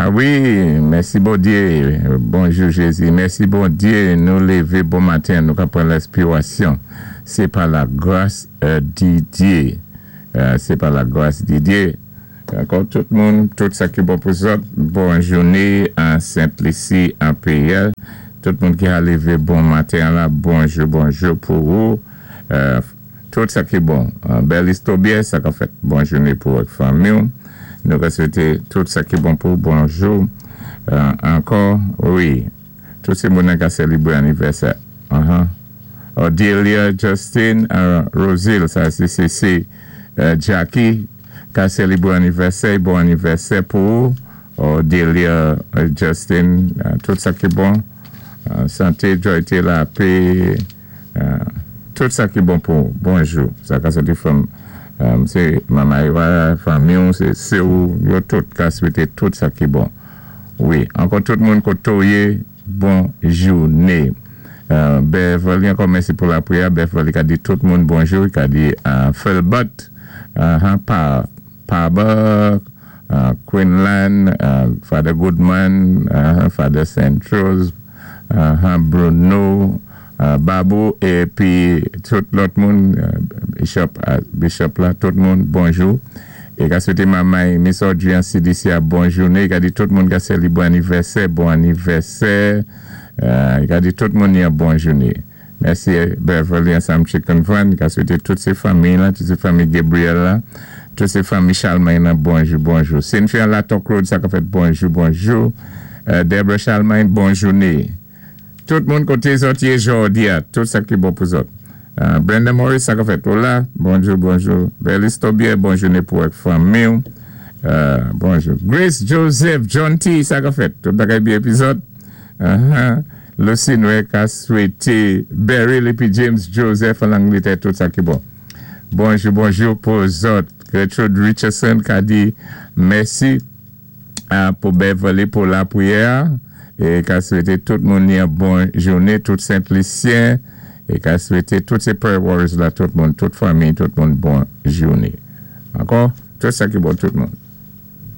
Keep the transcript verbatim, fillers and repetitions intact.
Wi, mèsi Bondyé. Bonjou Jézi. Mèsi Bondyé. Nou lévé bon maten, nou ka pran lèspirasyon. Sé pa la gras euh, di Dyé. Euh, sé pa la gras di Dyé. Ankò tout moun, tout sa ki bon pou zòt. Bon jouné an Sent-Lisi, an P L. Tout moun ki a lévé bon maten la, bonjou, bonjou pou ou. Euh, tout sa ki bon. Bèl istobye, sa ka fèt bon jouné pou ak fanmi. Nou ka swété tout sa ki bon pou bonjou. Euh, ankò, wi. Tout sé moun ka sélébwé anivèsè. Uh-huh. Odelia Justin, uh, Rosil, sa sé sé euh, Jackie, ka sélébwé anivèsè, bon anivèsè pou Odelia Justin, uh, tout sa ki bon. Uh, santé, jwa, lapè, uh, tout sa ki bon pou bonjou. Sa ka soti from um, sé manman, fanmi, sé sé ou, yo tout ka swété tout sa ki bon. Wi, ankò tout moun koté ou yé, bon jouné. Euh, Beverly, ankò mèsi pou lapriyè. Beverly ka di tout moun bonjou, ka di uh, Felbert, uh, pa, Paba, uh, Quinlan, uh, Father Goodman, uh, Father Saint Rose, uh, Bruno, uh, Babou, épi tout lòt moun, uh, Bishop, uh, Bishop la, tout moun, bonjou. É ka swété manman, Miss Audrey an C D C a bon jouné. Ka di tout moun ka sélébwé anivèsè, bon anivèsè. Euh, ka di tout moun yon bon jouné. Mèsi Beverly ansanm Chicken Van. Ka swété tout sé fanmi la, tout sé fanmi Gabriel la, tout sé fanmi Charlemagne la, bonjou, bonjou. Cynthia Latok Road, sa ka fèt bonjou, bonjou. Euh, Deborah Charlemagne, bon jouné. Tout moun koté zòt yé jòdi a, tout sa ki bon pou zòt. Uh, Brenda Morris, sa ka fèt la, bonjou, bonjou. Belis Tobier, bon jouné pou ak fanmi. Uh, bonjou. Grace Joseph, John T, sa ka fèt. Tout bagay byen épi zòt. Uh-huh. Lucy Noé ka swété Beryl épi James Joseph an Anglétè, tout sa ki bon. Bonjou, bonjou pou zòt. Gertrude Richardson ka di mèsi uh, pou Beverly pou lapriyè é ka swété tout moun yon bon jouné, tout Sent-Lisyen é ka swété tout sé prayer warriors la, tout moun, tout fanmi, tout moun bon jouné. Ankò, tout sa ki bon tout moun.